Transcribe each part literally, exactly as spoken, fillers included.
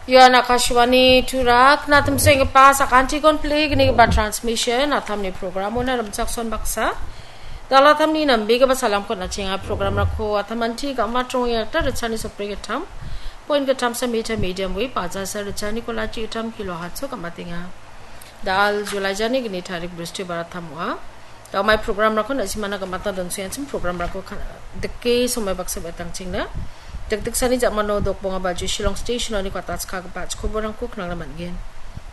Ian Akashvani Tura, knatim senggipa sakantikon plegnigipa transmission, atamni programona rimchakson baksa. Dalatamni nambegipa salamkon achenga programrangko atamanti gamat rongengakta ritchani sopregittam, point gittamsa mita medium wave, bajasa ritchani kolachi gittam kilo hatso gamatenga. Dal July jani gni tarik Bristibar atam ong·a. Damai programrangko na·simana gamata donsuyangchim programrangko ka-, dike somoi baksa betangchingna. Dikdiksani jamano dokbonga baju Shillong Station-oni kwatachkagipa achikoborangko knangna man·gen.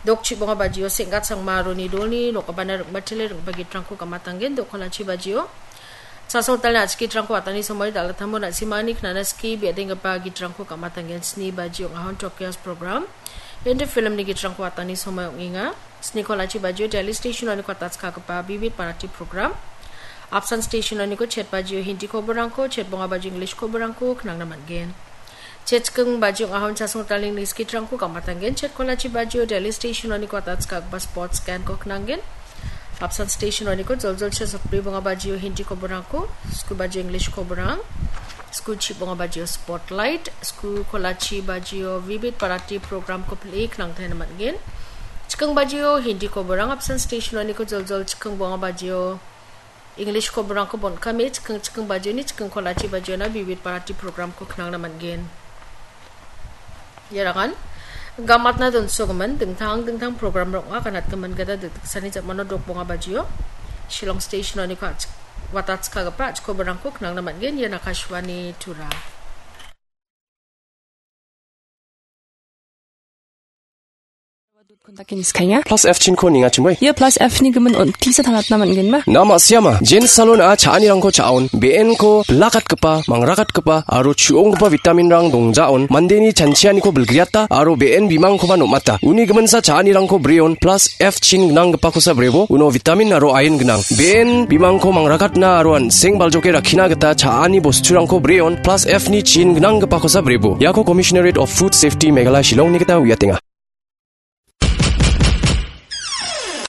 Dokchibonga bajio Senggat Sangma Roni Dolni nokabana ringbatele ringba gitrangko gamatanggen. Dokolachi bajio Chasongtalni achkitrangko atani somoi dal·atamo na·simani knana skie be·adenggipa gitrangko gamatanggen. Sni bajio ong·ahon Tokyo's program. Hindi filmni gitrangko atani somoi ong·enga. Snikolachi bajio Delhi Station-oni kwatachkagipa Vividh Bharati program. Apsan Station-oniko chet bajio Hindi koborangko, chet bonga bajio English koborangko knangna man·gen. Chet chiking bajio ong·ahon Chasongtalni niskitrangko gamatanggen. Chet kolachi bajio Delhi Station-oni kwatachkagipa sports scan-ko knanggen. Apsan Station-oniko joljol chet sakbri bonga bajio Hindi koborangko, sku bajio English koborang. Sku chibonga bajio Spotlight, sku kolachi bajio Vividh Bharati program-ko pil·e knangtaina man·gen. Chiking bajio Hindi koborang, Apsan Station-oniko joljol chiking bonga bajio English koborangko bon·kame chiking chiking bajioni chiking kolachi bajiona Vividh Bharati program-ko knangna man·gen. Iarangan gamatna donsogimin dingtang dingtang program-rang ong·a, ganatgimin gita dikdiksani jamano dokbonga bajio Shillong Station-oni ka-, watachkagipa achikoborangko knangna man·gen. Ian Akashvani Tura. Kontak-ko niskaenga. Plus F chinko ningachimoi. Ia plus F ni gimin on-, tisa tangatna man·genma? Na ma·siama, Jane Salon-a cha·anirangko cha·on, be·enko bilakatgipa, mangrakatgipa, aro chu·onggipa vitamin-rang dongjaon, mandeni chanchianiko bilgriata, aro be·en bimangkoba nom·ata. Uni giminsa cha·anirangko breon, plus F chin gnanggipakosa brebo, uno vitamin aro iron gnang. Be·en bimangko mangrakatna aro an·seng baljoke rakkina gita cha·ani bosturangko breon, plus F ni chin gnanggipakosa brebo. Iako Commissionerate of Food Safety Meghalaya Shillong-ni gita uiatenga.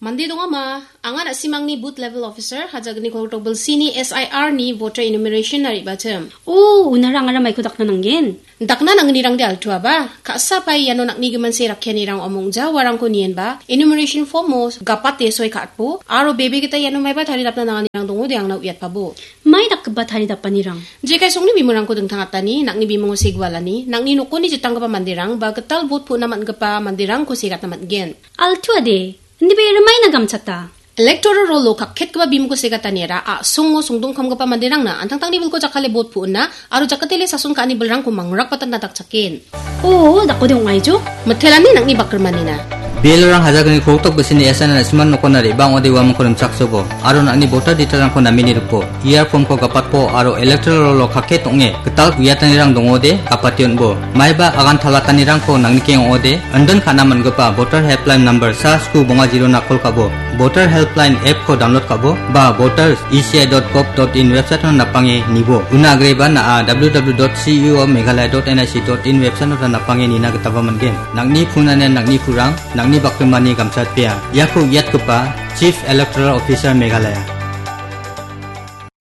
Mande dongama, anga na·simangni booth level officer, hajagni koltok bilsini S I R ni voter enumeration na re·bachim. O, unara angara maiko dakna nanggen? Dakna nangnirangde altuaba, ka·sa pai iano nangni giminse rakkianirang omongja uarangko nienba, enumeration form-o gapate soi ka·atbo, aro bebe gita iano maiba taridapna nanganirang dongode angna uiatpabo. Mai dakgipa taridapanirang? Jekai songni bimungko dingtangatani, nangni bimungo segualani, nangni nokoni jitanggipa manderang, ba gital vote pu·na man·gipa manderangko segatna man·gen. Altuade, indibe rimaina gamchata. Electoral roll-o kakketgipa bimungko segataniara a·songo songdongkamgipa manderangna antangtangni bilko jakkale vote pu·na aro jakatele sason ka·ani bilrangko mangrakbatna dakchaken. O, dakode ong·aijo? Mitelani nangni bakrimanina. B L O-rang hajagni koltok bisini S I R na·siman nokona re·bang ode uamangko rimchaksobo, aro nangni voter detail-rangko namini ripo, E R form-ko gapatpo, aro electoral roll-o kakket ong·e, gital uiatanirang dongode, gapate on·bo. Maiba agan talatanirangko nangnikeng ong·ode, indon ka·na man·gipa voter helpline number sa sku bonga zero-na call ka·bo. Voter Helpline app-ko download ka·bo, ba voters E C I dot gov dot in website-ona napange nibo. Una agreba na·a W W W dot C E O Meghalaya dot N I C dot in website-ota napange nina gitaba man·gen. Nangni phone-anian nangni purang, nangni bakrimani gamchatpea. Iako uiatgipa Chief Electoral Officer Meghalaya.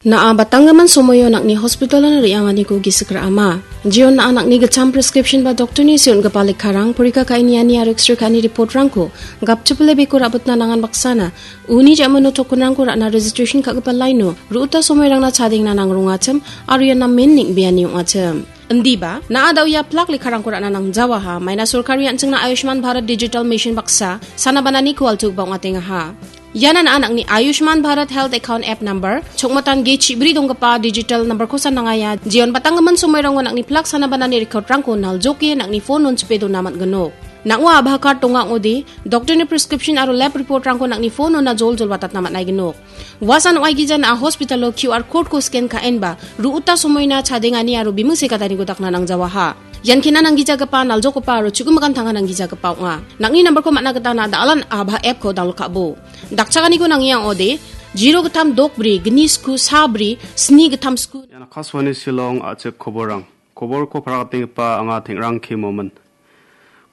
Na·a batanggimin somoio nangni hospital-ona re·anganiko gisik ra·ama. Jeon na·a nangni gitcham prescription ba doctor-ni see on·gipa lekkarang, porika ka·e niani aro X-ray ka·ani report-rangko gapchipile beko ra·bitna nangan baksana uni ja·mano token-rangko ra·na registration ka·gipa line-o ru·uta somoirangna chadengna nangrongachim aro ian namen neng·beani ong·achim. Indiba, na·a da·o ia plak lekkarangko ra·na nangjawaha, maina sorkari an·chingna Ayushman Bharat Digital Mission baksa, sana banani kualtugipa ong·atengaha. Iana na·a nangni Ayushman Bharat Health Account App Number, chokmatan ge chibri donggipa digital number-kosa nangaia, jeon batanggimin somoirango nangni plak sana banani record-rangko naljoke nangni phone-on chipe dona man·ginok. Nang·o Aadhaar card donga ong·ode, doctor-ni prescription aro lab report-rangko nangni phone-ona joljol watatna man·aiginok. Uasan ong·aigija na·a hospital-o Q R code-ko scan ka·enba, ru·uta somoina chadengani aro bimung sekataniko dakna nangjawaha. Ian kena nanggijagipa, naljokgipa aro chu·gimikan tanga nanggijagipa ong·a. Nangni number-ko man·na gita na·a da·alan Aadhaar app-ko download ka·bo. Dakchakaniko nangia ong·ode, zero gittam dok bri, gni sku sa bri, sni gittam sku. Ian Akashvani Shillong a·chik koborrang. Koborko paragatenggipa anga Tengrang K Momin.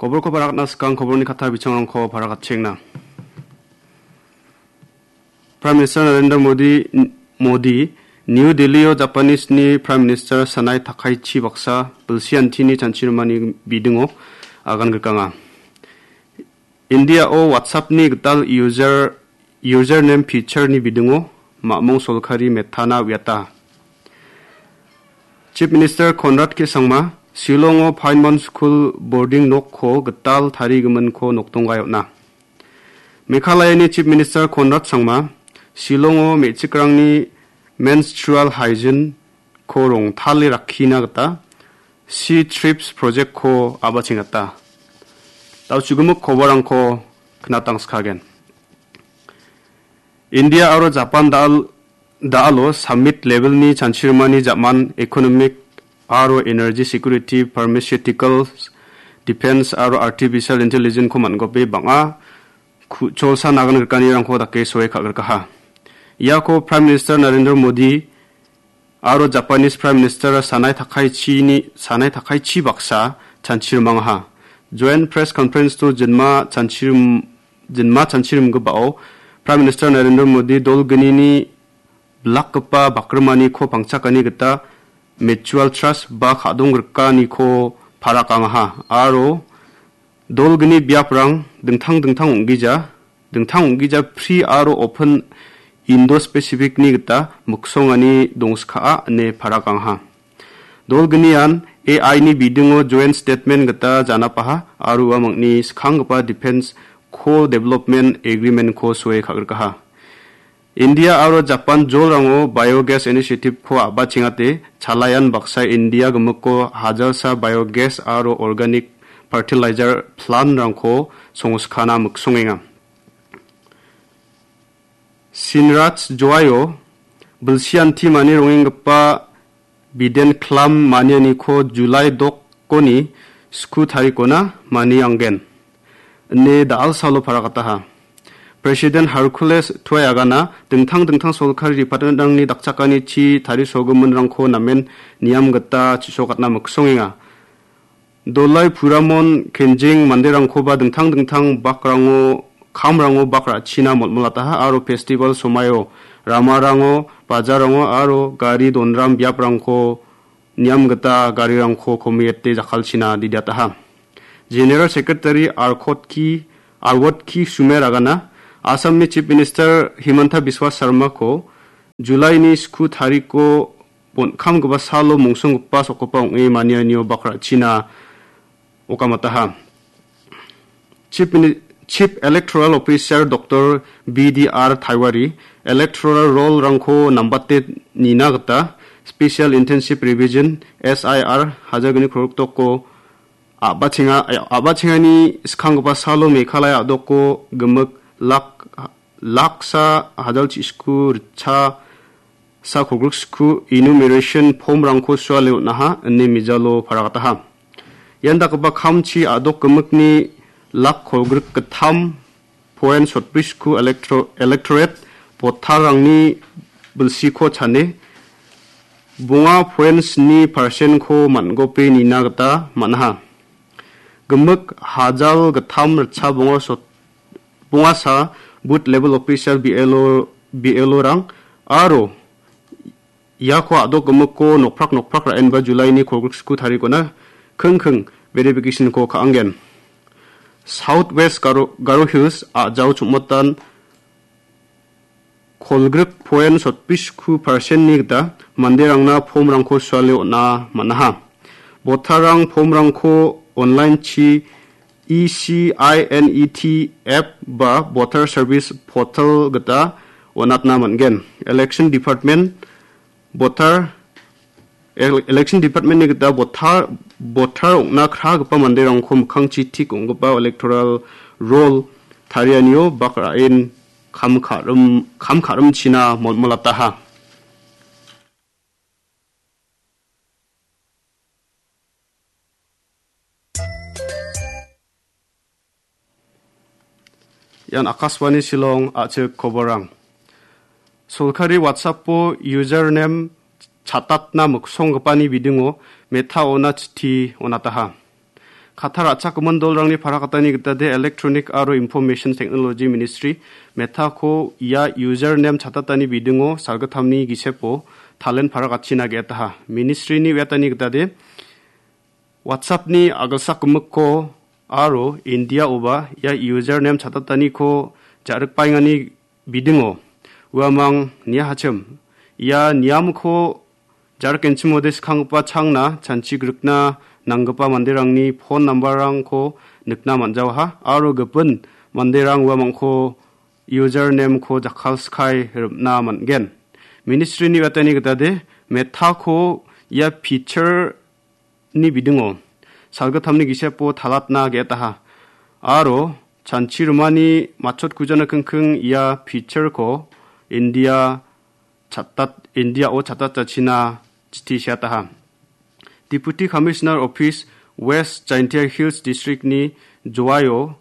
Koborko paragatna skang koborni katta bichangrangko paragatchengna. Prime Minister Narendra Modi, Modi, New Delhi-o Japanese-ni Prime Minister Sanae Takaichi baksa bilsi antini chanchirimani bidingo agan grikanga. India-o WhatsApp-ni gital user, username feature-ni bidingo mamung solkari Meta-na uiata. Chief Minister Conrad K Sangma, Shillong-o Pine Mount School boarding nokko gital tarigiminko nokdonggae on·a. Meghalaya-ni Chief Minister Conrad Sangma, Shillong-o me·chikrangni menstrual hygiene-ko rongtale rakkina gita She Thrives project-ko a·bachengata. Dao chugimik koborangko knatangskagen. India aro Japan dal-, da·alo summit level-ni chanchirimani ja·man economic aro energy security, pharmaceuticals, defense aro artificial intelligence-ko man·gope bang·a ku-, cholsa nagan grikanirangko dake soe ka·grikaha. Iako Prime Minister Narendra Modi aro Japanese Prime Minister Sanai Takaichini, Sanai Takaichi baksa chanchirimangaha. Joint press conference-o jinma chanchirim-, jinma chanchirimgipao Prime Minister Narendra Modi dol gnini bilakgipa bakrimaniko pangchakani gita mutual trust ba ka·donggrikaniko parakangaha aro dol gni biaprang dingtang dingtang ong·gija, dingtang ong·gija pri aro open Indo-Pacific-ni gita miksongani dongska ine parakangaha. Dol gnian A I-ni bidingo joint statement gita janapaha aro ua mangni skanggipa Defense Co-Development Agreement-ko soe ka·grikaha. India aro Japan jolrango biogas initiative-ko a·bachengate, chalayan baksa India gimikko hajalsa biogas aro organic fertilizer plant-rangko songskana miksongenga. Sinraj Joaio bilsianti mani rongenggipa biden klam manianiko July dokoni sku tarikona manianggen, ine da·alsalo paragataha. President Hercules Tuai agana dingtang dingtang solkari department-rangni dakchakanichi tarisogiminrangko namen niam gita chisokatna miksongenga. Dolai Puramon Kenjing manderangkoba dingtang dingtang bakrango, kamrango bak ra·china molmolataha aro festival somaio ramarango, bajarango aro gari donram biaprangko niam gita garirangko komiete jakkalchina didiataha. General Secretary Arkotki, Arwotki Sumer agana Assamni Chief Minister Himanta Biswa Sarmako Julaini sku tariko bon·kamgipa salo mongsonggipa sokgipa ong·e manianio bak ra·china okamataha. Chief Mini-, Chief Electoral Officer Doctor B D R Taiwari electoral roll-rangko nambate nina gita Special Intensive Revision, S I R, hajar gni krorok doko a·bachenga-, a-, a·bachengani skanggipa salo Meghalaya a·doko gimik lak, laksa hajalchi sku ritcha sa kolgriksku enumeration form-rangko suale on·aha ine mijalo paragataha. Ian dakgipa kamchi a·dok gimikni lak kolgrik gittam point sotbrisku electro-, electorate voter-rangni bilsiko chane bonga point sni percent-ko man·gope nina gita man·aha. Gimik hajal gittam ritcha bonga sot-, bongasa booth level officer B L O, B L O-rang aro iako a·dok gimikko nokprak nokprak ra·enba Julaini kolgriksku tarikona kingking verification-ko ka·angen. South West Garo, Garo Hills a·jao chongmotan kolgrik point sotbrisku percent-ni gita manderangna form-rangko suale on·a man·aha. Voter-rang form-rangko online-chi E C I N E T app ba Voter Service Portal gita on·atna man·gen. Election Department voter, ele-, Election Department-ni gita voter, voter ong·na kragipa manderangko mikkangchi tik ong·gipa electoral roll tarianio bak ra·en kam ka·rim-, kam ka·rimchina molmolataha. Ian Akashvani Shillong a·chik koborang. Solkari WhatsApp-o username chatatna miksonggipani bidingo Meta-ona chitti on·ataha. Katta ra·chakgimin dolrangni parakatani gitade Electronic aro Information Technology Ministry Meta-ko ia username chatatani bidingo salgittamni gisepo talen parakatchina ge·etaha. Ministry-ni uiatani gitade WhatsApp-ni a·gilsak gimikko aro India-oba ia username chatataniko ja·rikbaengani bidingo uamang niahachim. Ia niamko ja·rikenchimode skanggipa changna chanchigrikna nanggipa manderangni phone number-rangko nikna man·jawaha aro gipin manderang uamangko username-ko jakkalskai rim·na man·gen. Ministry-ni uiatani gitade Meta-ko ia feature-ni bidingo salgittamni gisepo talatna ge·etaha. Aro chanchi rimani matchotkuja nikengkeng ia feature-ko India chatat-, India-o chatatjachina chiti seataha. Deputy Commissioner Office West Jaintia Hills District-ni Joaio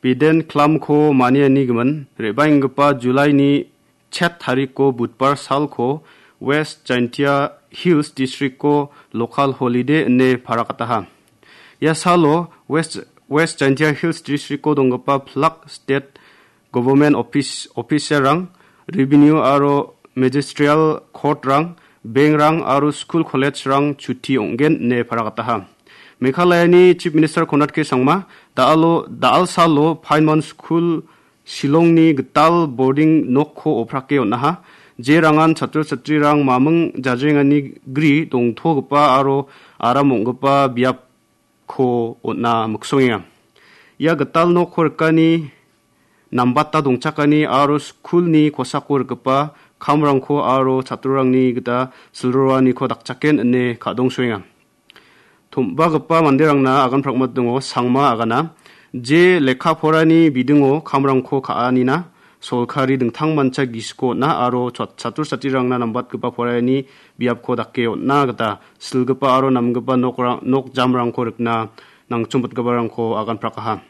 Biden Klamko manianigimin re·baenggipa July-ni chet tarikko budbar salko West Jaintia Hills District-ko local holiday ine parakataha. Ia salo West, West Jaintia Hills District-ko donggipa pilak state government office, officer-rang, revenue aro magisterial court-rang, bank-rang aro skul college-rang chuti ong·gen ine parakataha. Meghalayani Chief Minister Conrad K Sangma da·alo, da·alsalo Pine Mount School Shillongni gital boarding nokko oprake on·aha. Je rangan chatro chatrirang maming jajrengani gri dongtogipa aro aram ong·gipa biapko on·a miksongenga. Ia gital nokko rikani, nambata dongchakani aro skulni kosako rikgipa kamrangko aro chatrorangni gita silroaniko dakchaken ine ka·dongsoenga. Tom·bagipa manderangna agan prakmat dongo, Sangma agana. Je lekka porani bidingo kamrangko ka·anina solkari dingtangmancha gisiko on·a aro chat-, chatro chatrirangna nambatgipa porani biapko dake on·na gita silgipa aro namgipa nokrang-, nok jamrangko rikna nangchongpatgiparangko agan prakaha.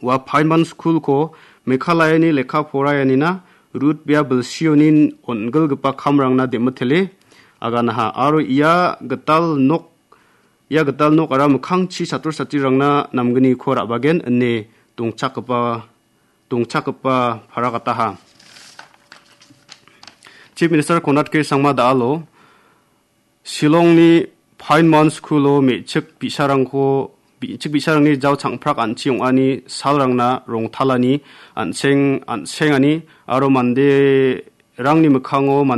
Ua Pine Mount School-ko Meghalayani lekka poraianina rut bia bilsionin on·gilgipa kamrangna dem·mitele aganaha. Aro ia gital nok, ia gital nok ara mikkangchi chatro chatrirangna namgniko ra·bagen ine dongchakgipa, dongchakgipa parakataha. Chief Minister Conrad K Sangma da·alo Shillongni Pine Mount School-o me·chik bi·sarangko, bi-, me·chik bi·sarangni jao chang·prak an·chi ong·ani salrangna rongtalani an·seng, an·sengani aro manderangni mikkango mande